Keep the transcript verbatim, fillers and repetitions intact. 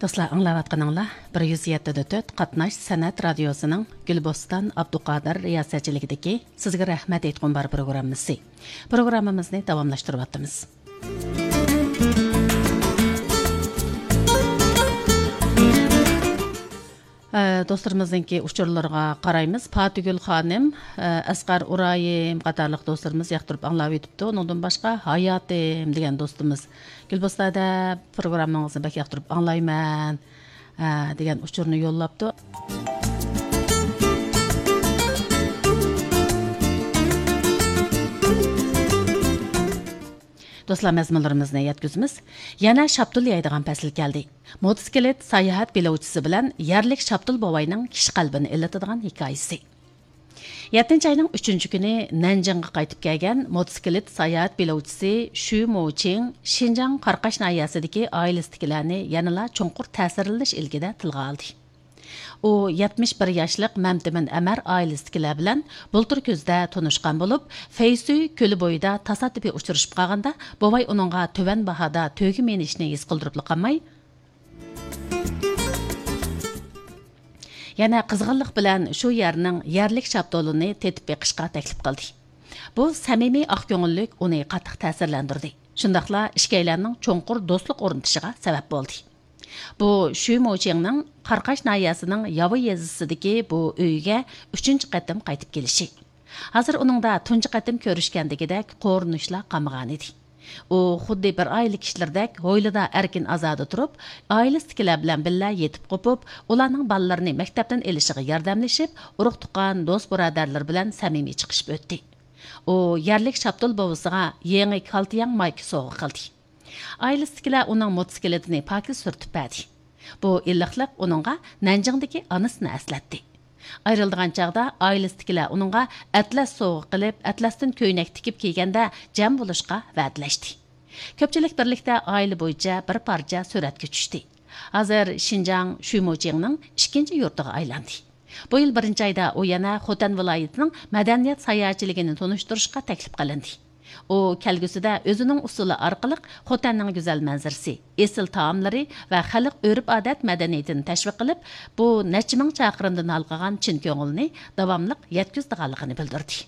دوستلار، ئاڭلاۋاتقىنىڭلار بىر يۈز يەتتە دە تۆت قاتناش سەنئەت رادىيوسىنىڭ گۈلبوستان ئابدۇقادىر رىياسەتچىلىكىدىكى سىزگە رەھمەت ئېيتقۇم بار پروگراممىسى. پروگراممىمىزنى داۋاملاشتۇرۇۋاتىمىز. ئە، دوستلىرىمىزنىڭكى ئۇچۇرلىرىغا قارايمىز. پاتىگۈل خانىم، ئە، ئەسقەر ئۇرايىم قاتارلىق دوستلىرىمىز ياقتۇرۇپ ئاڭلاۋېتىپتۇ. ئۇنىڭدىن باشقا ھاياتىم دېگەن دوستىمىز، گۈلبوستان ھەدە پروگراممىڭىزنى بەك ياقتۇرۇپ ئاڭلايمەن، ئە، دېگەن ئۇچۇرنى يوللاپتۇ. دوستلار، مەزمۇنلىرىمىزنى يەتكۈزىمىز. يەنە شاپتۇل يەيدىغان پەسىل كەلدى. موتوسىكلىت ساياھەت بېلوۋچىسى بىلەن يەرلىك شاپتۇل بوۋاينىڭ كىشى قەلبىنى ئىللىتىدىغان ھېكايىسى. يەتتىنچى ئاينىڭ ئۈچىنچى كۈنى نەنجىڭغا قايتىپ كەلگەن موتوسىكلىت ساياھەت بېلوۋچىسى شۈ موچىڭ شىنجاڭ قاراقاش ناھىيەسىدىكى ئائىلىسىدىكىلەرنى يەنىلا چوڭقۇر تەسىرلىنىش ئىلكىدە تىلغا ئالدى. ئۇ يەتمىش بىر ياشلىق مەمتىمىن ئەمەر ئائىلىسىدىكىلەر بىلەن بۇلتۇر كۈزدە تونۇشقان بولۇپ، فەيسۈي كۆلى بويىدا تاسادىپىي ئۇچرىشىپ قالغاندا، بوۋاي ئۇنىڭغا تۆۋەن باھادا تۆگە مىنىشنى ھېس قىلدۇرۇپلا قالماي، يەنە قىزغىنلىق بىلەن شۇ يەرنىڭ يەرلىك شاپتۇلىنى تېتىپ بېقىشقا تەكلىپ قىلدى. بۇ سەمىمىي ئاق كۆڭۈللۈك ئۇنى قاتتىق تەسىرلەندۈردى. شۇنداقلا ئىككىيلەننىڭ چوڭقۇر دوستلۇق ئورنىتىشىغا سەۋەب بولدى. بۇ شۈ موچىڭنىڭ قاراقاش ناھىيەسىنىڭ ياۋا يېزىسىدىكى بۇ ئۆيىگە ئۈچىنچى قېتىم قايتىپ كېلىشى. ھازىر ئۇنىڭدا تۇنجى قېتىم كۆرۈشكەندىكىدەك قورۇنۇشلار قالمىغانىدى. ئۇ خۇددى بىر ئائىلە كىشىلىرىدەك ھويلىدا ئەركىن ئازادە تۇرۇپ، ئائىلىسىدىكىلەر بىلەن بىللە يېتىپ قوپۇپ، ئۇلارنىڭ بالىلىرىنى مەكتەپتىن ئېلىشىغا ياردەملىشىپ، ئۇرۇق-تۇغقان، دوست-بۇرادەرلىرى بىلەن سەمىمىي چىقىشىپ ئۆتتى. ئۇ يەرلىك شاپتۇل بوۋىسىغا يېڭى كالتياڭ مايكا سوۋغا قىلدى. ئائىلىسىدىكىلەر ئۇنىڭ موتوسىكلىتىنى پاكىز سۈرتۈپ بەردى. بۇ ئىللىقلىق ئۇنىڭغا نەنجىڭدىكى ئانىسىنى ئەسلەتتى. ئايرىلىدىغان چاغدا ئائىلىسىدىكىلەر ئۇنىڭغا ئەتلەس سوۋغا قىلىپ، ئەتلەستىن كۆينەك تىكىپ كىيگەندە جەم بولۇشقا ۋەدىلەشتى. كۆپچىلىك بىرلىكتە ئائىلە بويىچە بىر پارچە سۈرەتكە چۈشتى. ھازىر شىنجاڭ شۈموچىڭنىڭ ئىككىنچى يۇرتىغا ئايلاندى. بۇ يىل بىرىنچى ئايدا ئۇ يەنە خوتەن ۋىلايىتىنىڭ مەدەنىيەت ساياھەتچىلىكىنى تونۇشتۇرۇشقا تەكلىپ قىلىندى. ئۇ كەلگۈسىدە ئۆزىنىڭ ئۇسسۇلى ئارقىلىق خوتەننىڭ گۈزەل مەنزىرىسى، ئېسىل تائاملىرى ۋە خەلق ئۆرپ-ئادەت مەدەنىيىتىنى تەشۋىق قىلىپ، بۇ نەچچە مىڭ چاقىرىمدىن ھالقىغان چىن كۆڭۈلنى داۋاملىق يەتكۈزىدىغانلىقىنى بىلدۈردى.